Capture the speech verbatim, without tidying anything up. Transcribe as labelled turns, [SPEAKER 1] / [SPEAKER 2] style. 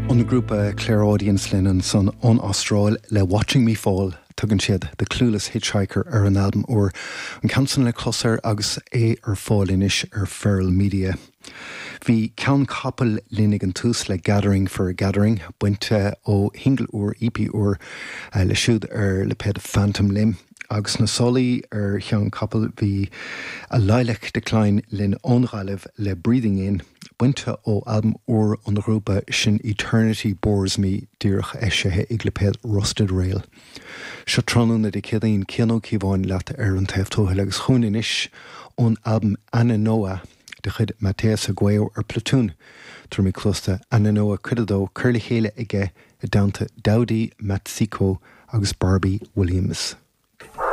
[SPEAKER 1] An grúpa Clairaudience linn ansan ón Astráil le Watching Me Fall tugann siad The Clueless Hitchhiker ar an albam úr an ceann san le clos air agus é ar fáil anois ar Feral Media. Bhí Ceann Capall linn ag an tús le Gathering for a Gathering bainte ó shingil úr EP úr uh, le siúd ar lipéad Phantom Limb. agus na solaí ar Cheann Capall bhí a Lilac Decline linn ón Ghaillimh le Breathing In, bainte ó albam úr an ghrúpa sin Eternity Bores Me díreach eisithe ag lipéad Rusted Rail. Seo tráthnóna Dé Céadaoin Cian Ó Cíobháin leat ar an taobh tuathail agus chugainn anois ón albam Ananoa de chuid Mateus Aguayo ar Platoon. Tabharfaimid cluas d'Ananoa cuid a dó curtha le chéile aige i dteannta Daudi Matsiko agus Barbie Williams.